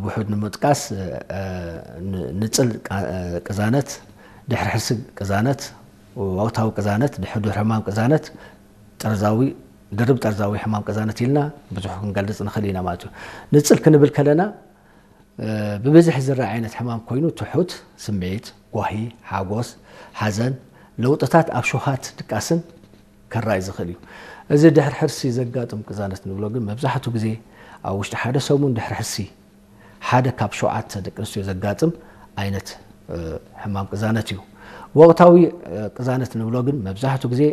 ውሑድ ንምጥቃስ፣ እ፣ ን-፣ ንጽል ቃ-፣ እ፣ ቅዛነት፣ ድሕሪ ሕርሲ ቅዛነት፣ ወቕታዊ ቅዛነት፣ ድሕሪ ሕማም ቅዛነት፣ ጠርዛዊ፣ ድርብ ጠርዛዊ ሕማም ቅዛነት ኢልና ብዙሕ ክንገልጽ ንኽእል ኢና ማለት እዩ። ንጽል ክንብል ከለና፣ እ፣ ብብዝሒ ዝረኣ ዓይነት ሕማም ኮይኑ ትሑት ስምዒት፣ ጓሂ፣ ሓጎስ፣ ሓዘን፣ ለውጥታት ኣብ ሸውሃት ድቃስን ከራይ ዝኽእል እዩ። እዚ ድሕሪ ሕርሲ ዘጋጥም ቅዛነት ንብሎ ግን መብዛሕትኡ ግዜ ኣብ ውሽጢ ሓደ ሰሙን ድሕሪ ሕርሲ ሓደ ካብ ሸውዓተ ደቂ ኣንስትዮ ዘጋጥም ዓይነት፣ እ፣ ሕማም ቅዛነት እዩ። ወቕታዊ፣ እ፣ ቅዛነት ንብሎ ግን መብዛሕትኡ ግዜ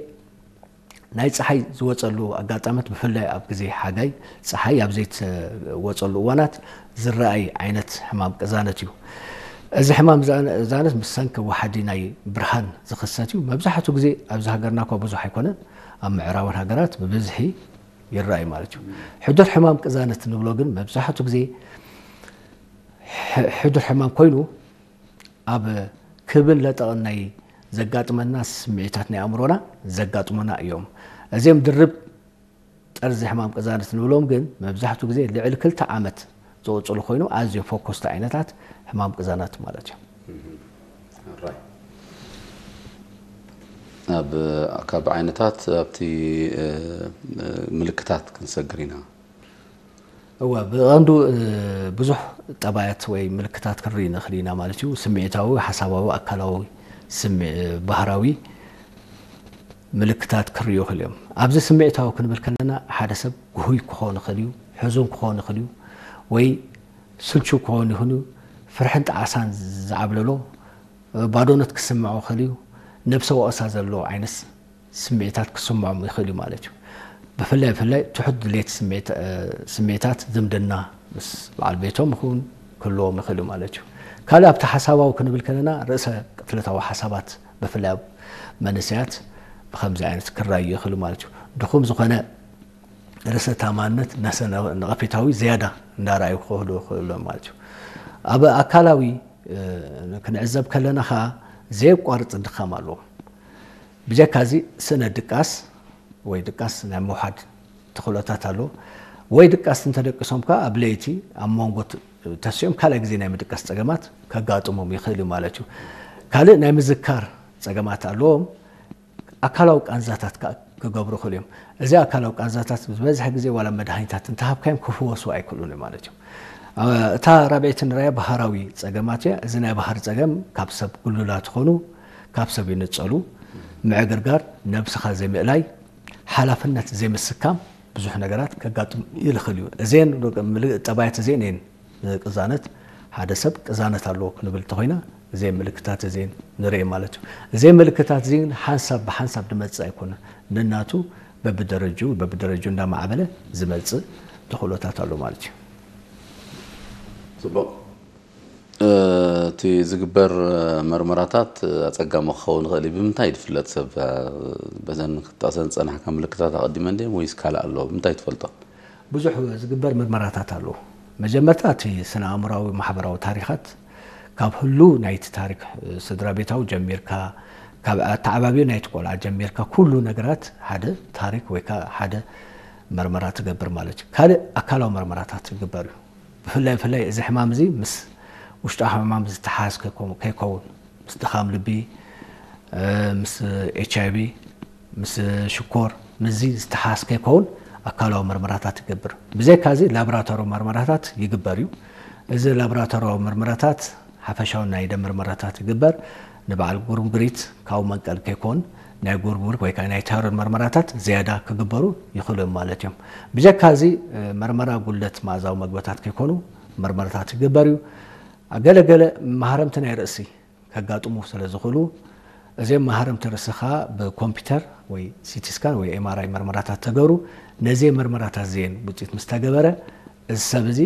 ናይ ጸሓይ ዝወጸሉ ኣጋጣመት፣ ብፍላይ ኣብ ግዜ ሓጋይ ጸሓይ ኣብ ዘይትወጸሉ እዋናት ዝረኣይ ዓይነት ሕማም ቅዛነት እዩ። እዚ ሕማም ዛ-፣ ቅዛነት ምስ ሰንኪ ወሓዲ ናይ ብርሃን ዝኽሰት እዩ። መብዛሕትኡ ግዜ ኣብዚ ሃገርና እኳ ብዙሕ ኣይኮነን፣ ኣብ ምዕራባውያን ሃገራት ብብዝሒ ይረኣይ ማለት እዩ። ሕዱር ሕማም ቅዛነት ንብሎ ግን መብዛሕትኡ ግዜ ሕ-፣ ሕዱር ሕማም ኮይኑ ኣብ ክብን ለጠቕን ናይ ዘጋጥመና ስምዒታት ናይ ኣእምሮና ዘጋጥሙና እዮም። እዚኦም ድርብ ጠርዚ ሕማም ቅዛነት ንብሎም ግን መብዛሕትኡ ግዜ ልዕሊ ክልተ ዓመት ዝቕጽሉ ኮይኑ ኣዝዮም ፈኮስቲ ዓይነታት ሕማም ቅዛነት ማለት እዮም። ኣራይ። ኣብ ካብ ዓይነታት ኣብቲ፣ እ፣ እ፣ ምልክታት ክንሰግር ኢና። እወ፣ ብቐንዱ፣ እ፣ ብዙሕ ጠባያት ወይ ምልክታት ክንርኢ ንኽእል ኢና ማለት እዩ። ስምዒታዊ፣ ሓሳባዊ፣ ኣካላዊ፣ ስምዒ-፣ ባህራዊ ምልክታት ክርእዩ ይኽእሉ እዮም። ኣብዚ ስምዒታዊ ክንብል ከለና ሓደ ሰብ ግሁይ ክኸውን ይኽእል እዩ፣ ሕዙን ክኸውን ይኽእል እዩ፣ ወይ ስልቹ ክኸውን ይኽእል እዩ፣ ፍርሕን ጣዕሳን ዝዓብለሎ፣ እ፣ ባዶነት ክስምዖ ይኽእል እዩ፣ ነብሰ ወቐሳ ዘለዎ ዓይነት ስምዒታት ክስምዖም ይኽእል እዩ ማለት እዩ። ብፍላይ ብፍላይ ትሑት ድሌት ስምዒት-፣ እ፣ ስምዒታት ዝምድና ምስ በዓል ቤቶም ይኹን ክህልዎም ይኽእል እዩ ማለት እዩ። ካልእ ኣብቲ ሓሳባዊ ክንብል ከለና ርእሰ ቅትለታዊ ሓሳባት ብፍላይ ኣብ መንእሰያት ብኸምዚ ዓይነት ክራዩ ይኽእሉ ማለት እዩ። ድኹም ዝኾነ ርእሰ ተኣማንነት፣ ነሰ ነቐፌታዊ ዝያዳ እንዳረኣዩ ክኸዱ ይኽእሉ እዮም ማለት እዩ። ኣብ ኣካላዊ፣ እ፣ ክንዕዘብ ከለና ኸዓ ዘየቋርጽ ድኻም ኣለዎም። ብጀካ እዚ ስእነት ድቃስ ወይ ድቃስ ናይ ምውሓድ ተኽእሎታት ኣሎ። ወይ ድቃስ እንተደቂሶም ከኣ ኣብ ለይቲ ኣብ መንጎ ት-፣ ተሲኦም ካልኣይ ግዜ ናይ ምድቃስ ጸገማት ከጋጥሞም ይኽእል እዩ ማለት እዩ። ካልእ ናይ ምዝካር ጸገማት ኣለዎም። ኣካላዊ ቃንዛታት ከኣ ክገብሩ ይኽእሉ እዮም። እዚ ኣካላዊ ቃንዛታት ዝበዝሐ ግዜ ዋላ መድሃኒታት እንተሃብካዮም ክፍወሱ ኣይክእሉን እዮም ማለት እዩ። እ፣ እታ ራብዐይቲ ንራያ ባህራዊ ጸገማት እያ። እዚ ናይ ባህሪ ጸገም ካብ ሰብ ግሉላት ይኹኑ ካብ ሰብ ይንጸሉ፣ ምዕግርጋር፣ ነብስኻ ዘይምእላይ፣ ሓላፍነት ዘይምስካም ብዙሕ ነገራት ከጋጥም ይኽእል እዩ። እዘን ምል-፣ ጠባያት እዚአን እየን ቅዛነት፣ ሓደ ሰብ ቅዛነት ኣለዎ ክንብል እንተኾይና እዘን ምልክታት እዚአን ንርኢ ማለት እዩ። እዘን ምልክታት እዚአን ሓንሳብ ብሓንሳብ ዝመጽእ ኣይኮነን። ነናቱ በብደረጅኡ በብደረጅኡ እንዳማዕበለ ዝመጽእ ተኽእሎታት ኣሎ ማለት እዩ። ጽቡቕ። እ፣ እቲ ዝግበር መርመራታት ኣጸጋሚ ክኸውን ይኽእል እዩ። ብምንታይ ዝፍለጥ ሰብ፣ እ፣ በዘን ክትጠቕሰን ዝጸናሕካ ምልክታት ኣቐዲመን ድየን ወይስ ካልእ ኣለዎ? ብምንታይ ትፈልጦ? ብዙሕ ዝግበር ምርመራታት ኣሎ። መጀመርታ እቲ ስነ ኣእምሮኣዊ ማሕበራዊ ታሪኻት ካብ ህሉው ናይቲ ታሪክ፣ እ፣ ስድራ ቤታዊ ጀሚርካ፣ ካብ ኣተዓባብዩ ናይቲ ቆልዓ ጀሚርካ ኩሉ ነገራት ሓደ ታሪክ ወይ ከዓ ሓደ መርመራ ትገብር ማለት እዩ። ካልእ ኣካላዊ መርመራታት ይግበር እዩ። ብፍላይ ብፍላይ እዚ ሕማም እዚ ምስ ውሽጣዊ ሕማም ዝተሓዝ ከይኮ-፣ ከይከውን፣ ምስ ድኻም ልቢ፣ እ፣ ምስ ኤች ኣይ ቪ፣ ምስ ሽኮር፣ ምስዚ ዝተሓዝ ከይከውን ኣካላዊ መርመራታት ይገብር። ብዘይካ እዚ ላቦራቶሪ መርመራታት ይግበር እዩ። እዚ ላቦራቶሪያዊ መርመራታት ሓፈሻዊ ናይ ደም መርመራታት ይግበር። ንበዓል ጉርምግሪት ካብኡ መንቀል ከይኮን ናይ ጉርምግሪት ወይ ከዓ ናይ ታይሮይድ መርመራታት ዝያዳ ክግበሩ ይኽእሉ እዮም ማለት እዮም። ብጀካ እዚ፣ እ፣ መርመራ ጉድለት መኣዛዊ መግብታት ከይኮኑ መርመራታት ይግበር እዩ። ገለ ገለ መሃረምቲ ናይ ርእሲ ከጋጥሙ ስለ ዝኽእሉ እዚኦም መሃረምቲ ርእሲ ከዓ ብኮምፒውተር ወይ ሲቲ ስካን ወይ ኤም ኣር ኣይ መርመራታት ተገብሩ። ነዚ መርመራታት እዚአን ውፅኢት ምስ ተገበረ እዚ ሰብ እዚ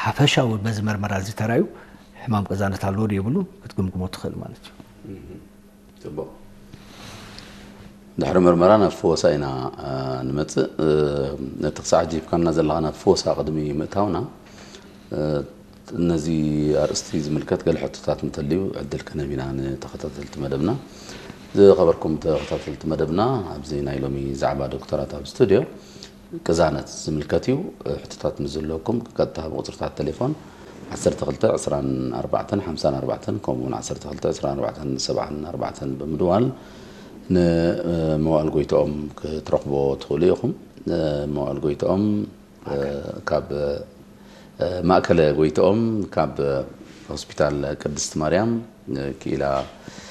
ሓፈሻዊ በዚ መርመራ እዚ ተራዩ ሕማም ቅዛነት ኣለዎ ዶ የብሉ ክትግምግሞ ትኽእል ማለት እዩ። ጽቡቕ። ድሕሪ መርመራ ናብ ፈወሳ ኢና፣ እ፣ ንመጽእ። እ፣ ነቲ ክሳዕ ሕጂ ሂብካና ዘለኻ ናብ ፈወሳ ቅድሚ ምእታውና፣ እ፣ ነዚ ኣርእስቲ ዝምልከት ገለ ሕቶታት እንተልዩ ዕድል ክንህብ ኢና ንተኸታተልቲ መደብና። ዝኸበርኩም ተኸታተልቲ መደብና፣ ኣብዚ ናይ ሎሚ ዛዕባ ዶክተራት ኣብ ስቱድዮ ቅዛነት ዝምልከት እዩ። ሕቶታት ምስ ዝህልወኩም ቀጥታ ብቁጽርታት ቴሌፎን ዓሰርተ ክልተ ዕስራን ኣርባዕተን ሓምሳን ኣርባዕተን ከምኡውን ዓሰርተ ክልተ ዕስራን ኣርባዕተን ሰብዓን ኣርባዕተን ብምድዋል ንመዋእል ጎይትኦም ክትረኽቦ ትኽእሉ ኢኹም። መዋእል ጎይትኦም ካብ ማእከለ ጎይትኦም ካብ ሆስፒታል ቅድስቲ ማርያም ክኢላ